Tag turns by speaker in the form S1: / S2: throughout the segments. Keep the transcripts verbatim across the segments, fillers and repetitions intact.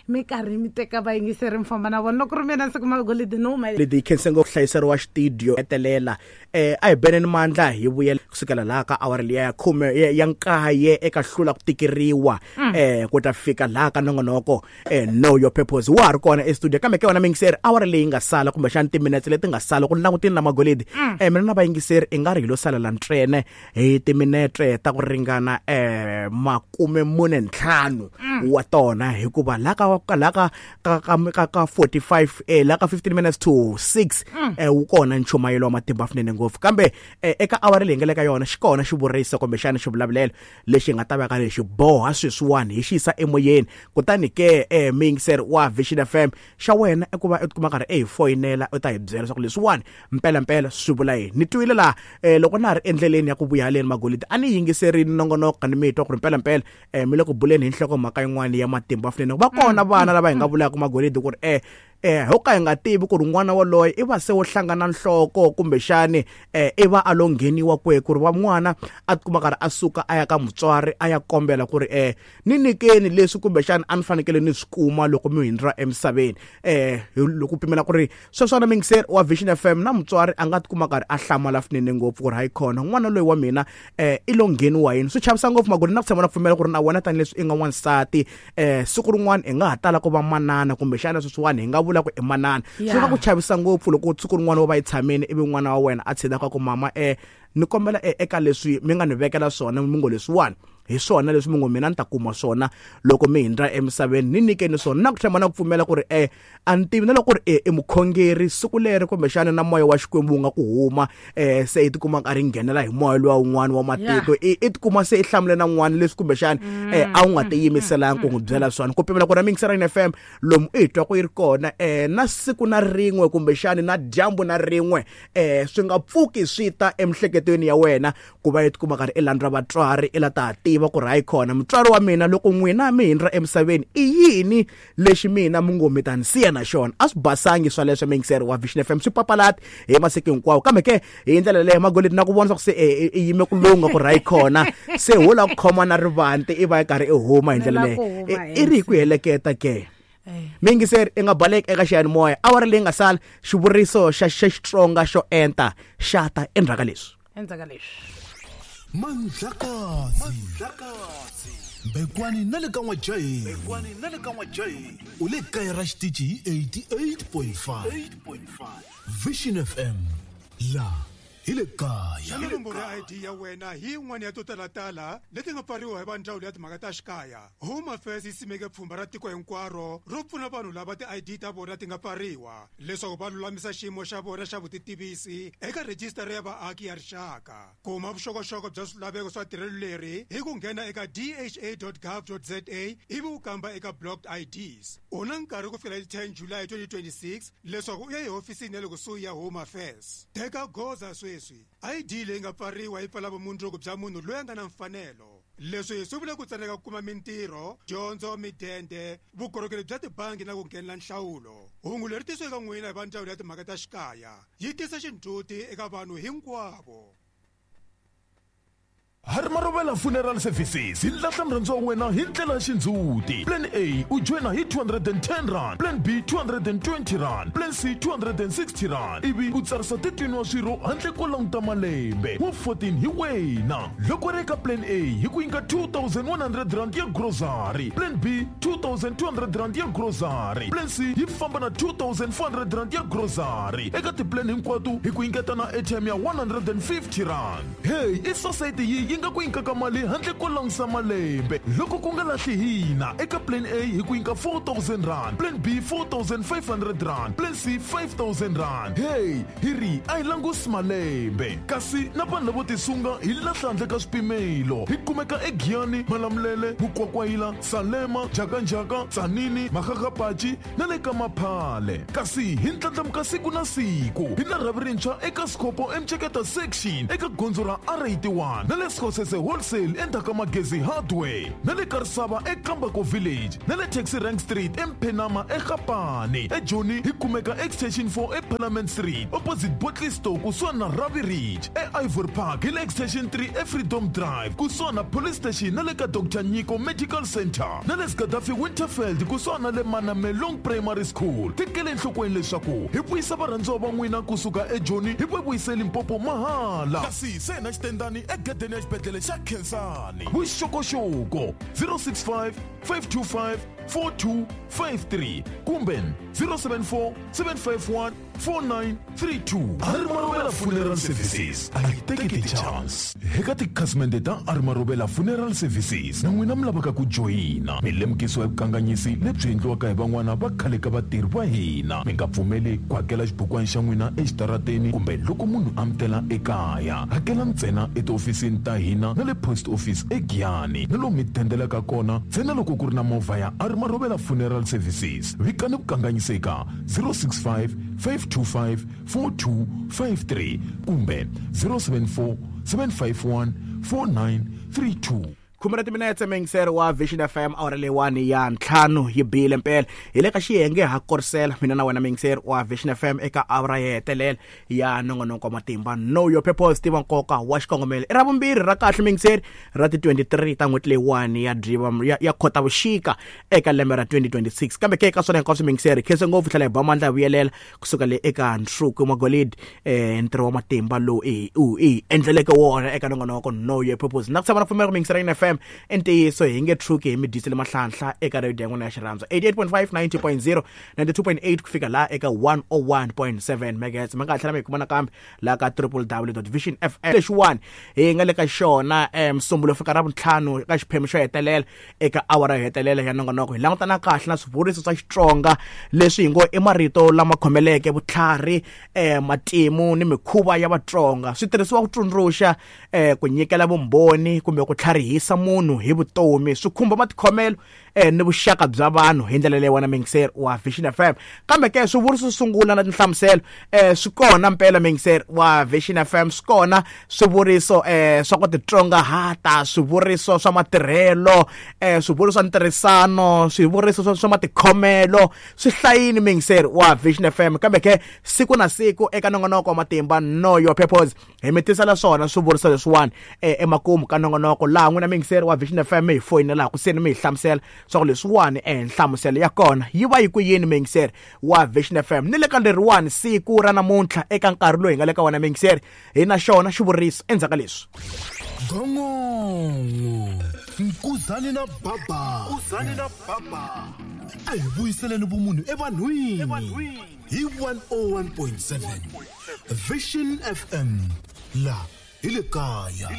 S1: Mi karhi mi teka vayingiseri mi famba na vona loko ri mina siku magolidi no huma.
S2: Leti hi khense ngopfu hlayiseriwa xitidio hetelela eh a hi beneni mandla hi vuyela kusukela laha ka awara liya ya khume ya ya nkaye eka hlula ku tikeriwa eh ku ta fika laha ka nongonoko eh Know Your Purpose wa ha ri kona estudio kambe ke wena miyingiseri awara leyi nga sala kumbexana timinetse leti nga sala ku langutini na magolidi eh mina na vayingiseri i nga ri hi lo salela ntsena hi timinetse ta ku ringana eh makume mune ntlhanu wa tona hikuva laha ka laha ka ka ka ka ka forty-five eh laha ka fifteen minutes to six eh wu kona nchumayelo wa matimba swinene ngopfu kambe eh, eka awara leyi nga le ka yona xi kona xivuriso kumbexana xivulavulelo lexi nga ta va ka lexi boha sweswiwani hi xi yisa emoyeni kutani ke eh miyingiseri wa Vision F M xa wena i ku va u tikuma karhi i hi foyinela u ta hi byela leswaku leswiwani mpelampela swi vula yini ni twile laha eh, loko na ha ri endleleni ya ku vuya haleni magolidi a ni yingiserini nongonoko ni mi twa ku ri mpelampela eh, mi le ku buleni hi nhlokomhaka yin'wana ya matimba swinene va kona vana lava hi nga vulaka magolidi ku ri eh eh ho ka hi nga tivi ku ri n'wana waloye i va se wo hlangana nhloko kumbexani eh i va a lo ngheniwa kwihi ku ri va n'wana a tikuma karhi a suka a ya ka mutswari a ya kombela ku ri eh ni nyikeni leswi kumbexani a ni fanekele ni swi kuma loko mi hindra emisaveni eh loko pimela ku ri sweswana miyingiseri wa Vision F M na mutswari a nga tikuma karhi a hlamala swinene ngopfu ku ri hayi khona n'wana loyi wa mina eh i lo ngheniwa yini swi chavisa ngopfu magoli na ku tshama na pfumela ku ri na wena tanihileswi i nga n'wansati eh siku rin'wana i nga ha tala ku va manana kumbexana sweswiwani hi nga vula ku i manana swi nga ku chavisa ngopfu loko siku rin'wana wo va yi tshamini ivi n'wana wa wena a tshidaka ku mama eh ni kombela eka leswi mi nga ni vekela swona mi ngo leswiwani hi swona leswi mi ngo mina ni ta kuma swona loko mi hindra emisaveni ni nyikeni swona na ku tlhela na ku pfumela ku ri eh a ni tivi na loko ri i mukhongeri siku leri kumbexana na moya wa Xikwembu wu nga ku huma eh se i tikuma karhi nghenela hi moya luwa wun'wana wa matiko i i tikuma se i hlamule na n'wana leswi kumbexana eh a wu nga tiyimiselanga ku n'wi byela swona ku pimela ku ri miyingiseri F M lomu i twa ku yi ri kona eh na siku na rin'we kumbexana na dyambu na rin'we eh swi nga pfuki swi ta emhleketweni ya wena ku va i tikuma karhi i landza vatswari i la ta tiva ku ri hayi khona mutswari wa mina loko n'wina mi hindra emisaveni i yini lexi mina mi ngo mi ta ni siya na xona a swi basangi swa leswo miyingiseri wa Vision F M swi papalati hi masiku hinkwawo kambe ke hi ndlela leyo magolidi na ku vona swa ku se i yime ku lunga ku ri hayi khona se ho la ku khoma na rivanti i va yi karhi i huma hi ndlela leyo i ri hi ku heleketa ke miyingiseri i nga baleki eka xiyanimoya awara leyi nga sala xivuriso xa xa Xitsonga xo enta xa ta endzhaku ka leswi
S1: endzhaku ka leswi
S3: Mandlakazi Mandlakazi Bekwani na le ka N'wajahi Bekwani na le ka N'wajahi u le kaya ra xitichi hi eighty-eight point five Vision F M la hi le kaya
S4: nomboro ya I D ya wena hi yin'wana ya to talatala leti nga pfariwa hi va ndzawulo ya timhaka ta xikaya Home Affairs yi simeke pfhumba ra tiko hinkwaro ro pfuna vanhu lava ti-I D ta vona ti nga pfariwa leswaku va lulamisa xiyimo xa vona xa vutitivisi eka rhejisitara ya vaaki ya rixaka kuma vuxokoxoko bya swilaveko swa tirhelo leri hi ku nghena eka d h a dot gov dot z a ivi u kamba eka blocked I Ds u na nkarhi ku fikela hi ten July twenty twenty-six leswaku u ya ehofisini ya le kusuhi ya Home Affairs teka goza sweswi I D leyi nga pfariwa yi pfala vumundzuku bya munhu loyi a nga na mfanelo leswi swi vula ku tsandzeka ku kuma mintirho dyondzo midende vukorhokeri bya tibangi na ku nghenela nhlawulo hungu leri tisiweke eka n'wina hi va ndzawulo ya timhaka ta xikaya yi tisa xindzhuti eka vanhu hinkwavo.
S3: Harimarovela Funeral Services hi lahla murhandziwa wa wena hi ndlela ya xindzhuti. Plan A u joyina hi two hundred and ten rand, Plan B two hundred and twenty rand, Plan C two hundred and sixty rand ivi u tsarisa thirteen wa swirho handle ko languta malembe wa fourteen hi wena. Loko ri eka Plan A hi ku nyika two thousand one hundred rand ya grocery, Plan B two thousand two hundred rand ya grocery, Plan C yi famba na two thousand four hundred rand ya grocery. Eka tiplan hinkwato hi ku nyiketa na airtime ya one hundred and fifty rand. Hey, i society yi yi nga ku nyikaka mali handle ko langusa malembe loko ku nga lahli hina eka Plan A hi ku nyika four thousand rand, Plan B four thousand five hundred rand, Plan C five thousand rand. Hey, hi ri a hi langusi malembe kasi na vanhu lavo tisunga hi lahla handle ka swipimelo. Hi kumeka eGiyani, Malamulele, Mukwakwayila, Salema, Jakanjaka, Tsanini, Makgakgapachi na le ka Maphale. Kasi hi ndlandlamuka siku na siku hi na rhavi rintshwa eka Sikopo eMceketa section eka gondzo ra R eighty-one na le eScosese Wholesale endzhaku ka Magezi Hardware, na le Karisava eKambako Village, na le Taxi Rank Street eMphenama eGapane. EJoni hi kumeka Extension four eParliament Street opposite Botley Store kusuhani na Ravi Ridge. E-Ivory Park hi le Extension three eFreedom Drive kusuhani na Police Station na le ka Doctor Nyiko Medical Center, na le Gaddafi Winterfeld kusuhani na le Manamelong Primary School. Tekele enhlokweni leswaku hi vuyisa varhandziwa va n'wina kusuka eJoni hi va vuyise Limpopo mahala. Kasi se na xitendani egedeni ya xibedhlele xa Khensani. Vuxokoxoko zero six five, five two five, four two five three kumbe zero seven four, seven five one, four nine three two. Arimarovela Funeral Services a yi teki ti-chance. Eka tikhasimende ta Arimarovela Funeral Services na n'wina mi lavaka ku joyina, mi lemukisiwa hi vukanganyisi lebyi endliwaka hi van'wana va khale ka vatirhi va hina. Mi nga pfumeli ku hakela xibukwana xa n'wina exitarateni kumbe loko munhu a mi tela ekaya. Hakela ntsena etihofisini ta hina na le post office eGiyani, na lomu mi tendelaka kona ntsena loko ku ri na movha ya Arimarovela Funeral Services. Vikani vukanganyiseka zero six five, five two five, four two five three kumbe zero seven four, seven five one, four nine three two.
S2: Khume ra timinetse muyingiseri wa Vision F M awara leyiwani ya ntlhanu yi bile mpela. Hi le ka xiyenge ha korisela mina na wena muyingiseri wa Vision F M eka awara yo hetelela ya nongonoko wa matimba Know Your Purpose, tiva nkoka wa xikongomelo. I ra vumbirhi ra kahle muyingiseri ra ti twenty-three ta n'hweti leyiwani ya Dziva ya, ya Khotavuxika eka lembe ra twenty twenty-six. Kambe ke eka swona hinkwaswo muyingiseri khense ngopfu tlhela hi ba mandla ya vuyelela kusuka le eka Nsuku Magolidi, eh ntirho wa matimba lowu i u i endleleke wona eka nongonoko Know Your Purpose. Na ku tshama na pfumela ku muyingiseri ya F M ntiyiso hi nge tshuki hi mi dyisele mahlanhla eka radio ya n'wina ya xirhandzu eighty-eight point five, ninety point zero, ninety-two point eight ku fika laha eka one oh one point seven megahertz. Mi nga ha tlhela mi hi kuma nakambe laha ka w w w dot vision f m. Lexiwani hi nga le ka xona Musumbulo fika ra vuntlhanu eka xiphemu xo hetelela eka awara yo hetelela ya nongonoko. Hi langutana kahle na swivuriso swa Xitsonga leswi hi ngo i marito lama khomeleke vutlhari, eh matimu ni mikhuva ya Vatsonga. Swi tirhisiwa ku tsundzuxa, eh ku nyikela vumbhoni kumbe ku tlharihisa munhu hi vutomi. Swi khumba matikhomelo eh ni vuxaka bya vanhu hi ndlela leyi wena muyingiseri wa Vision F M. Kambe ke swivuriso swo sungula na tinhlamuselo eh swi kona mpela muyingiseri wa Vision F M, swi kona swivuriso eh swa ku titsongahata, swivuriso swa matirhelo, eh swivuriso swa ntirhisano, swivuriso swa matikhomelo, swi hlayini muyingiseri wa Vision F M. Kambe ke siku na siku eka nongonoko wa matimba Know Your Purpose hi mi tisela swona swivuriso leswiwani eh emakumu ka nongonoko laha n'wina muyingiseri wa Vision F M hi foyinela ku seni mi hi hlamusela swa ku leswiwani eh nhlamuselo ya kona yi va yi ku yini muyingiseri wa Vision F M. Ni le ka leriwani siku ra namuntlha eka nkarhi lowu hi nga le ka wona muyingiseri hi na xona xivuriso endzhaku ka leswi.
S5: Gongongo Nkuzani na baba, Nkuzani na baba, a hi vuyiseleni vumunhu evanhwini hi one oh one point seven Vision F M la hi le kaya.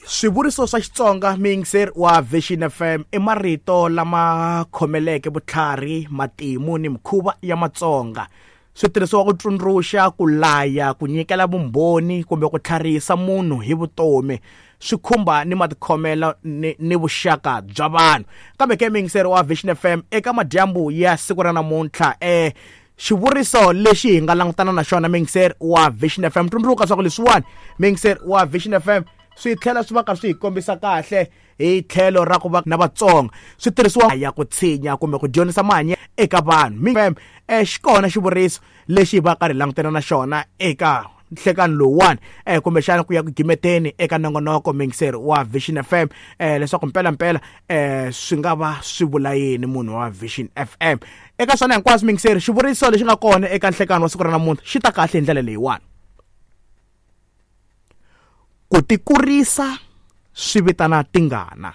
S2: Swivuriso swa Xitsonga muyingiseri wa Vision F M i marito lama khomeleke vutlhari, matimu ni mikhuva ya Matsonga. Swi tirhisiwa ku tsundzuxa, ku laya, ku nyikela vumbhoni kumbe ku tlharihisa munhu hi vutomi. Swi khumba ni matikhomelo ni, ni vuxaka bya vanhu. Kambe ke muyingiseri wa Vision F M eka madyambu ya siku ra namuntlha eh xivuriso lexi hi nga langutana na xona muyingiseri wa Vision F M, tsundzuka swa ku leswiwani muyingiseri wa Vision F M swi tlhela swi va ka swi hi kombisa kahle hi tlhelo ra ku va na Vatsonga. Swi tirhisiwa ya ku tshinya kumbe ku dyondzisa mahanyelo eka vanhu. F M eh xikona xivuriso lexi hi va karhi langutana na xona eka nhlekani lowuwani eh kumbexana ku ya ku gimeteni eka nongonoko muyingiseri wa Vision F M eh leswaku mpela mpela eh swi nga va swi vula yini munhu wa Vision F M. Eka swona hinkwaswo muyingiseri, xivuriso lexi nga kona eka nhlekani wa siku ra namuntlha xi ta kahle hi ndlela leyiwani: ku tikurisa swi vitana tingana.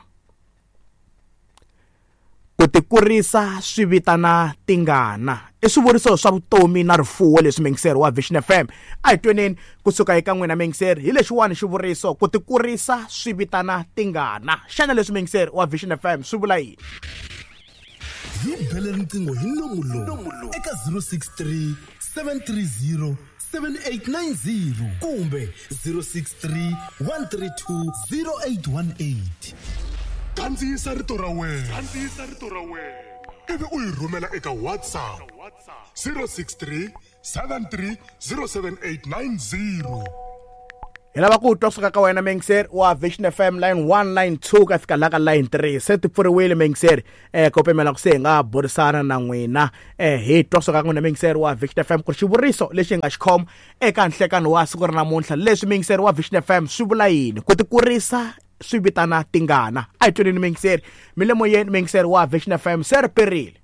S2: Ku tikurisa swi vitana tingana i swivuriso swa vutomi na rifuwo leswi muyingiseri wa Vision F M. A hi tweneni kusuka eka n'wina muyingiseri hi lexiwani xivuriso ku tikurisa swi vitana tingana. Xana leswi muyingiseri wa Vision F M swi vula yini?
S5: Hi bele riqingho hi nomu lowu eka zero six three, seven three zero, seven eight nine zero kumbe zero six three, one three two, zero eight one eight.
S4: Kandziyisa rito ra wena, kandziyisa rito ra wena ivi u yi rhumela eka WhatsApp zero six three, seven three zero seven eight nine zero.
S2: Hi lava ku twa kusuka ka wena muyingiseri wa Vision F M line one line two ka fika la ka line three se ti pfuriwile muyingiseri eh ko pimela ku se hi nga burisana na n'wina eh hi twa kusuka ka n'wina muyingiseri wa Vision F M ku ri xivuriso lexi hi nga xi khoma eka nhlekano wa siku ra namuntlha leswi muyingiseri wa Vision F M swi vula yini ku tikurisa swi vitana tingana a hi tweneni muyingiseri mi le moyeni muyingiseri wa Vision F M se ri perile.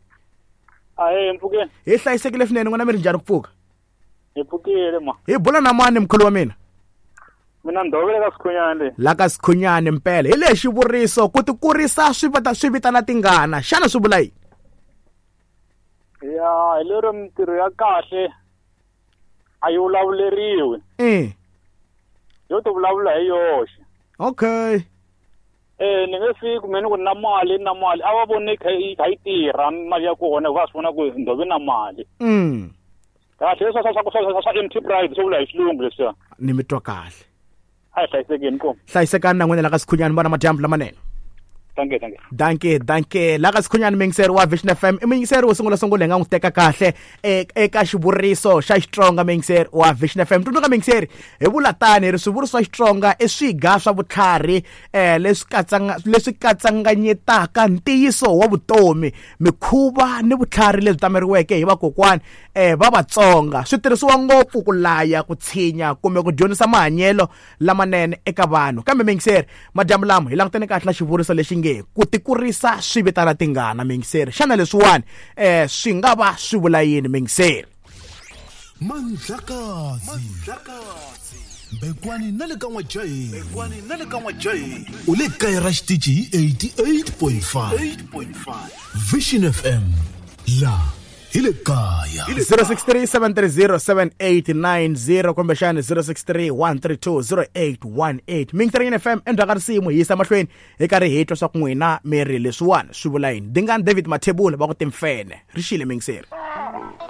S6: Ahee mpfukeni.
S2: Hi hlayisekile swinene n'wina mi ri njhani ku pfuka?
S6: Hi pfukile ma.
S2: Hi bula na mani mkhulu wa mina?
S6: Mina Ndovele ka Sikhunyane.
S2: La ka Sikhunyane mpela. Hi lexi xivuriso ku tikurisa swi vita swi vitana tingana. Xana swi vula yini?
S6: Ya, hi lero mintirho ya kahle a yi vulavuleriwi.
S2: Eh.
S6: Yo to vulavula hi yoxe.
S2: Okay.
S6: Eh ni nge fiki mina ku na mali na mali a va vone kha yi kha yi tirha mali ya kona va swi vona ku Ndove na mali.
S2: Mm.
S6: Kahle swa swa swa swa swa empty pride swo vula hi xilungu leswiya.
S2: Ni mi twa kahle.
S6: A hi hlayisekeni ko.
S2: Hlayisekani na n'wina la ka Sikhunyani vona madyambu lamanene.
S6: Danke, danke.
S2: Danke, danke. La ka Sikhunyani muyingiseri wa Vision F M i muyingiseri wo sungula sungula hi nga n'wi teka kahle eka xivuriso xa Xitsonga muyingiseri wa Vision F M. Tsundzuka muyingiseri hi vula tani hi ri swivuriso swa Xitsonga i swiga swa vutlhari eh leswi katsanga leswi katsanganyetaka ntiyiso wa vutomi, mikhuva ni vutlhari lebyi tameriweke hi vakokwani eh va Vatsonga. Swi tirhisiwa ngopfu ku laya, ku tshinya kumbe ku dyondzisa mahanyelo lamanene eka vanhu. Kambe muyingiseri madyambu lama hi langutene kahle na xivuriso lexi nge ku tikurisa swi vitana tingana muyingiseri. Xana leswiwani eh swi nga va swi vula yini muyingiseri?
S5: Mandlakazi Bekwani na le ka N'wajahi Bekwani na le ka N'wajahi u le kaya ra xitichi hi eighty-eight point five Vision F M la hi le kaya.
S2: Zero six three seven three zero seven eight nine zero kumbexani zero six three one three two zero eight one eight. Muyingiseri F M endzhaku ka risimu hi yisa mahlweni hi karhi hi twa swa ku n'wina mi ri leswiwani swi vula yini. Dingani David Mathebula va ku timfene ri xile muyingiseri.